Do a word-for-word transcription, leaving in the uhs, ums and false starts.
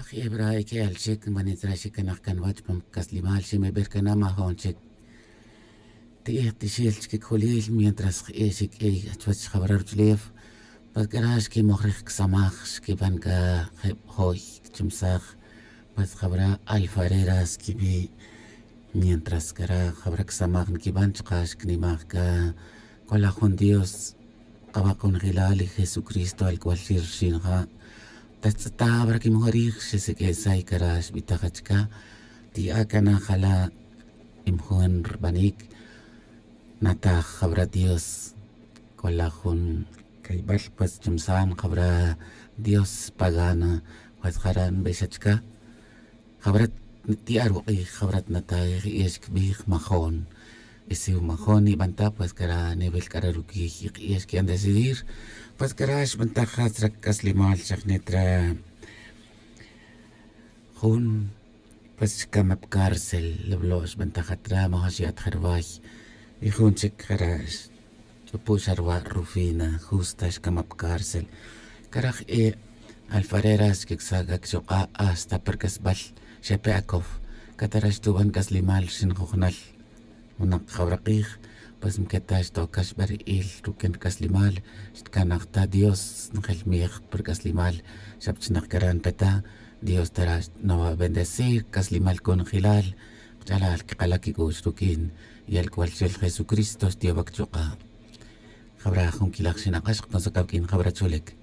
Hebra ke alchik manitra shikanaj kanwach pam kaslimal shimeber kanama honchik ti'ij tixil chkikjulil mientras ixik k'iy chuwach jabrar uchulew pues kara xkimoj riij ksamaj xkib'an ka jeb' joy kchumsaj pues jabra alfareras kib'i' mientras kara jabra ksamaj nkib'an chqa xknimaj ka kola jun Dios qab'aqunjilal Jesucristo alk'walxir xinja tatz'eta bra kimojrij xisik'esay kara xb'itaj achka ti'a kana jala imjun rb'anik nataj jabra Dios kola jun kayb'al pues chumsan jabra Dios pagana pues jara nb'exachka jabra ti'a ruq'ij jabra natay ix kb'ij majon y si majon ib'anta pues kara nivel kara rukij iq'ij xki'an decidir pues kara xb'antaj jas k'aslimal xajnetra jun pues xkamap cárcel leblo xb'antaj atra majon xi'at jarway y jun chik jara ch'upu xarwa Rufina justa xkamap cárcel karaj e alfareras kiksaga kchuq'a hasta perkasb'al xepe akow katara xtub'an k'aslimal xinjujnal winaq jawraq'ij pues mketax tokax b'ari'il rukin k'aslimal xtkanajta Dios njel miij per k'aslimal xapchinaq karan peta Dios tara no va a bendecir k'aslimal kunjilal qch'alal kqalak kik'u'x rukin y alk'walxel Jesucristo xtiob'ak chuq'a jabra jun kilaj xinaqax qponsakawk'in jabra chulik.